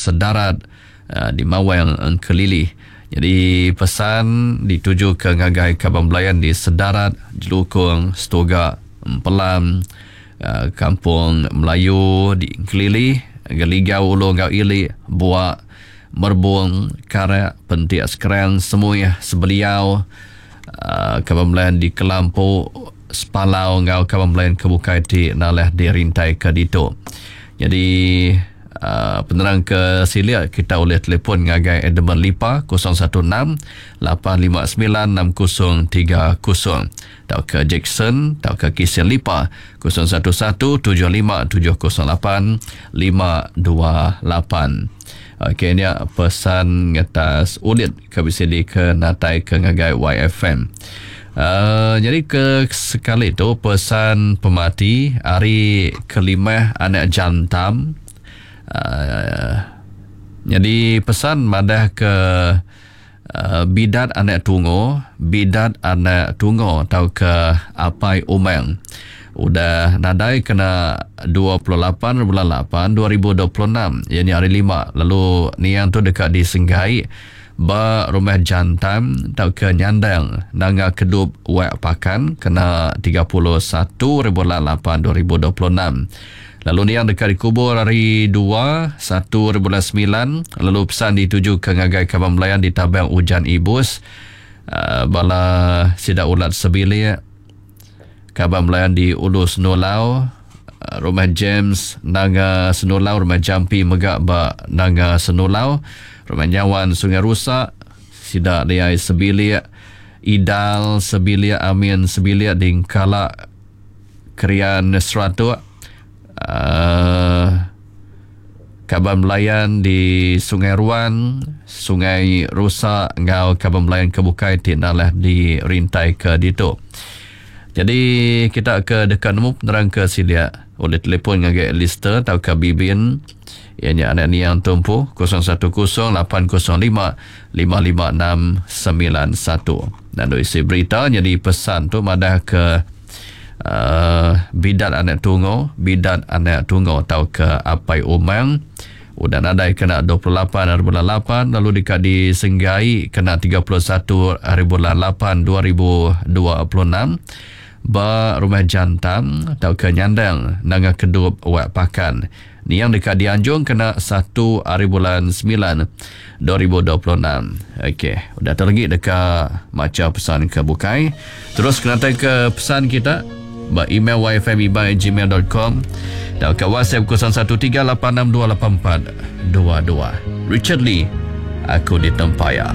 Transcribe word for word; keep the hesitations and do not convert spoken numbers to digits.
Sedarat uh, di Mawang Engkelili. Jadi pesan dituju ke ngagai kaban belayan di Sedarat, Jelukong, Setuga, Empelam, uh, Kampung Melayu di Engkelili, Geligau Ulu enggau Ili, Buak, Merbung, Karak, Pentik Sekerang, Semuih, Sebeliau, uh, kaban belayan di Kelampu, Sepalau enggau kaban belayan ke bukai ti naleh dirintai ke ditu. Jadi uh, penerang ke silik kita boleh telefon ngagai Edmund Lipa kosong satu enam lapan lima sembilan enam kosong tiga kosong atau ke Jackson atau ke Kisin Lipa kosong satu satu tujuh lima tujuh kosong lapan lima dua lapan. Okey, ni pesan atas ulit ke bisa di ke natai ke ngagai Y F M. Uh, jadi ke sekali tu pesan pemati hari kelima anak jantam. Uh, jadi pesan madah ke, uh, bidat anak tungo, bidat anak tungo atau ke apai umang. Udah nadai kena dua puluh lapan bulan lapan dua ribu dua puluh enam, iaitu hari lima. Lalu niang tu dekat di Senggai ba rumah jantan atau ke Nyandang Nanga Kedup Wak Pakan kena tiga puluh satu bulan lapan dua ribu dua puluh enam. Lalu niang dekat dikubur hari dua satu bulan sembilan. Lalu pesan dituju ke ngagai kaban belayan di Tabang Ujan Ibus, uh, bala sidak ulat sebilik, kaban belayan di Ulu Senulau, uh, rumah James Nanga Senulau, rumah Jampi megak ba Nanga Senulau, rumah Nyawan Sungai Rusak, sidak liai sebilik, Idal sebilik, Amin sebilik di Kalak Krian Seratuk, uh, kaban belayan di Sungai Ruan, Sungai Rusak ngau kaban belayan kebukai ti nalah di rintai ke ditu. Jadi kita ke dekat nemu penerang ke silia oleh telefon ngagai Lister atau ke Bibin ianya anak ni yang tumpu kosong satu kosong lapan kosong lima lima lima enam sembilan satu. Dan isi berita jadi pesan tu madah ke, uh, bidat anak tungo, bidat anak tungo atau ke apai umang udah nadai kena dua puluh lapan hari bulan lapan, lalu dekat di Senggai kena tiga puluh satu hari bulan lapan dua ribu dua puluh enam ba rumah jantan atau ke Nyandang Nanga Kedup Wak Pakan. Ni yang dekat di Anjung kena satu hari bulan sembilan dua ribu dua puluh enam. Okey, udah terlagi dekat baca pesan ke bukai. Terus kena tag ke pesan kita ba email y f m i b a at gmail dot com dan ke WhatsApp kosong satu tiga lapan enam dua lapan empat dua dua. Richard Lee, Aku Ditempaya.